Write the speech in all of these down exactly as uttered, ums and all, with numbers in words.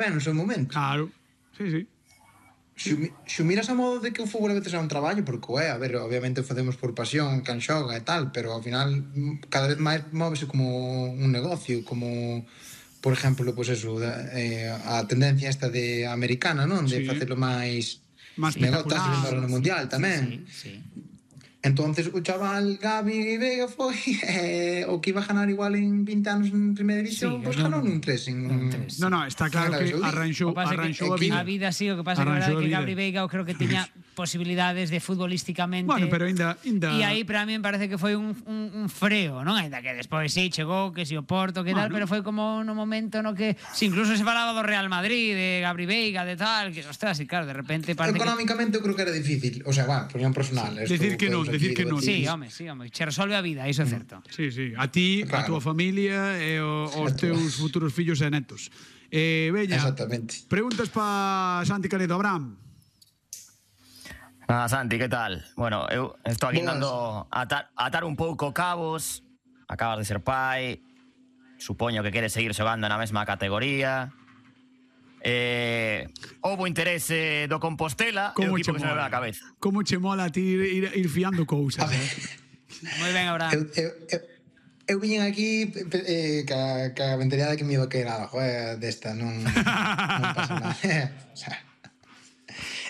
ben no seu momento. Claro, sí, sí. Se si miras a modo de que o fútbol a veces é un traballo, porque é, a ver, obviamente facemos por pasión, can xoga e tal, pero ao final cada vez máis móvese como un negocio, como, por exemplo, pois pues eso, eh, a tendencia esta de americana, non? De sí. facelo máis máis negocio, estás vendo sí, no Mundial sí, tamén. Sí, sí. Entonces o chaval Gavi Veiga foi eh, o que iba a ganar igual en vinte anos en primeira división, Sí, pois pues ganou nun tres en... nun tres. No, no, está claro que arranxou, arranxou a vida. A vida sí, o que pasa é que a verdade que Gabri Veiga eu creo que tiña posibilidades de futbolísticamente. Bueno, pero ainda... ainda... E aí para mí me parece que foi un, un, un freo, non? Ainda que despois sí, chegou, que si o Porto, que tal, bueno. Pero foi como no momento no que... Si incluso se falaba do Real Madrid, de Gabri Veiga, de tal, que, ostras, y claro, de repente parece económicamente que... eu creo que era difícil, o sea, va, por un personal. Sí. Decir que non, decir que non. Sí, home, sí, home, che resolve a vida, iso é certo. Sí, sí, a ti, claro. A túa familia e os teus futuros fillos e netos. Eh, Bella, exactamente. Preguntas pa Santi Canedo, Abraham. Ah, Santi, que tal? Bueno, eu estou aquí intentando atar, atar un pouco cabos. Acabas de ser pai. Supoño que queres seguir xogando na mesma categoría. Eh, houbo interese do Compostela e o equipo que se me ve a cabeza. Como che mola a ti ir, ir fiando cousas, eh? Moi ben, Abraham. Eu, eu, eu, eu viñen aquí eh, ca, ca mentalidade que me iba a quedar abajo, eh, desta, non, non pasa nada. O sea,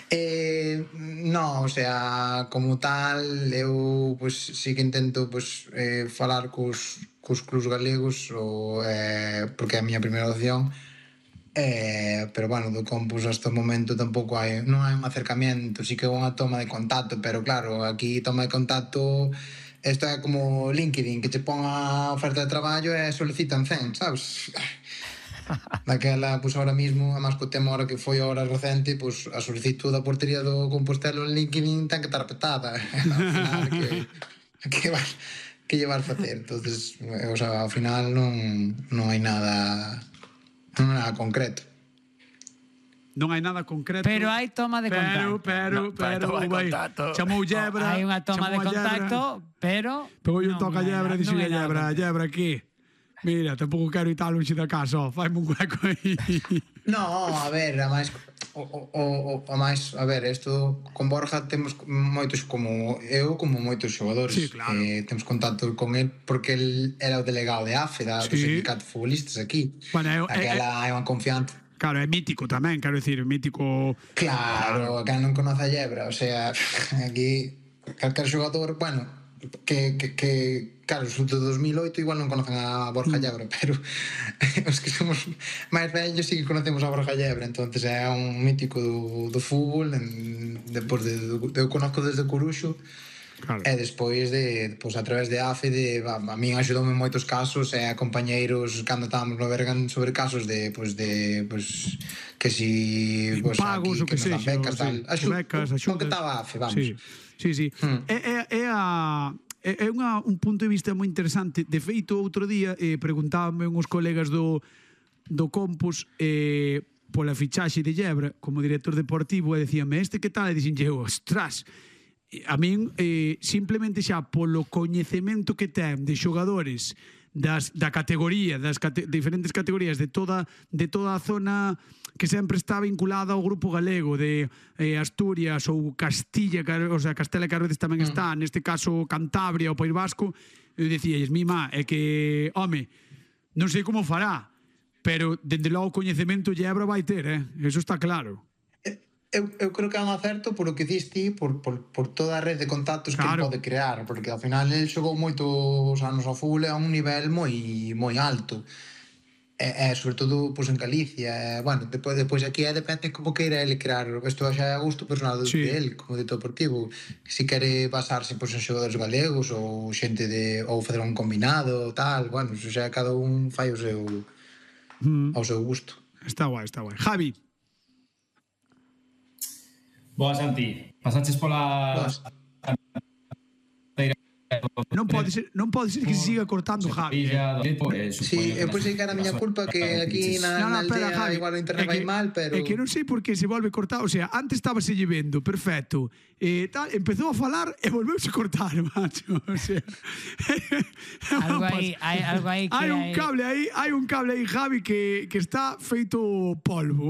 eh, no, o sea, como tal, eu pues, sí que intento pues, eh, falar cos, cos clubs galegos, ou, eh, porque é a miña primeira opción. Eh, pero bueno, do Compos hasta o momento tampouco hai, non hai un acercamiento, sí que é unha toma de contacto, pero claro, aquí toma de contacto, isto é como LinkedIn, que che pon a oferta de traballo e solicitan cen, sabes? Daquela, pois ahora mismo, a máis co tema ahora que foi ahora recente, pois a solicitud da portería do Compostelo en LinkedIn ten que estar petada, ao final que, que vas que llevar facer, entonces, o sea, ao final non, non hai nada non hai nada concreto. Non hai nada concreto. Pero hai toma de contacto. Pero, pero, no, pero, vai, chamou Yebra. Hai unha toma de contacto, pero... Pero eu toca a Yebra e dixo a Yebra, Yebra, aquí? Mira, tampouco quero ir tal longe da casa, faime un hueco aí. No, a ver, a máis o, o, o, a máis, a ver, isto con Borja temos moitos como eu, como moitos xogadores. Sí, claro. Eh, temos contacto con el porque el era o delegado de A F E, da, sí. Do sindicato de futbolistas aquí. Bueno, eu, aquela é unha confianza. Claro, é mítico tamén, quero dicir, mítico... Claro, que non conoce a Yebra, o sea, aquí calquer xogador, bueno, que, que, que claro, os de dos mil oito igual non conocen a Borja Yebra, pero os que somos máis vellos sí que conocemos a Borja Yebra, entonces é un mítico do, do fútbol, en, depois de, de, eu conozco desde Coruxo. Claro. E despois de, pois a través de A F E de, a, a min axudoume en moitos casos e a compañeiros cando estábamos no Bergan sobre casos de, pois de, pois que si pois pagos aquí, que, que nos dan becas, tal, axu, becas, axudas. O que estaba A F E, vamos. Sí, sí, sí. Hmm. É, é, é a é unha, un punto de vista moi interesante. De feito, outro día eh, preguntábame uns colegas do do Compos eh, pola fichaxe de Yebra como director deportivo e decíame, este que tal? E dixenlle eu, ostras, a min eh, simplemente xa polo coñecemento que ten de xogadores das, da categoría, das cate, diferentes categorías de toda, de toda a zona que sempre está vinculada ao grupo galego de eh, Asturias ou Castilla, o sea, Castela que a veces tamén está, neste caso Cantabria ou País Vasco, eu dicíalles, mi má, é que, home, non sei como fará, pero dende logo o coñecemento Yebra vai ter, eh? Eso está claro. Eu, eu creo que é un acerto por o que diste por, por, por toda a rede de contactos claro. Que pode crear, porque ao final el xogou moitos anos ao fútbol a un nivel moi moi alto e, e sobre todo pois, en Galicia e, bueno, depois, depois aquí é depende como queira ele crear, isto xa é a gusto personal sí. De ele, como director deportivo se quere basarse pois, en xogadores galegos ou xente de, ou fazer un combinado tal, bueno, xa cada un fai o seu mm. ao seu gusto. Está guai, está guai. Javi. Boa, Santi. Pasaches pola... Non pode ser, non pode ser que se siga cortando Javi. Sí, eu pensei que era a miña culpa que aquí na, No, no, na espera, aldea Javi. igual o É internet vai que- mal, pero... É que non sei por que se volve cortar. O sea, antes estaba se vendo, perfecto. Eh, tal, empezou a falar e volveuse a cortar, macho. O sea, Algo aí, hai algo aí que hai un hai- cable aí, hai un cable aí, Javi, que, que está feito polvo.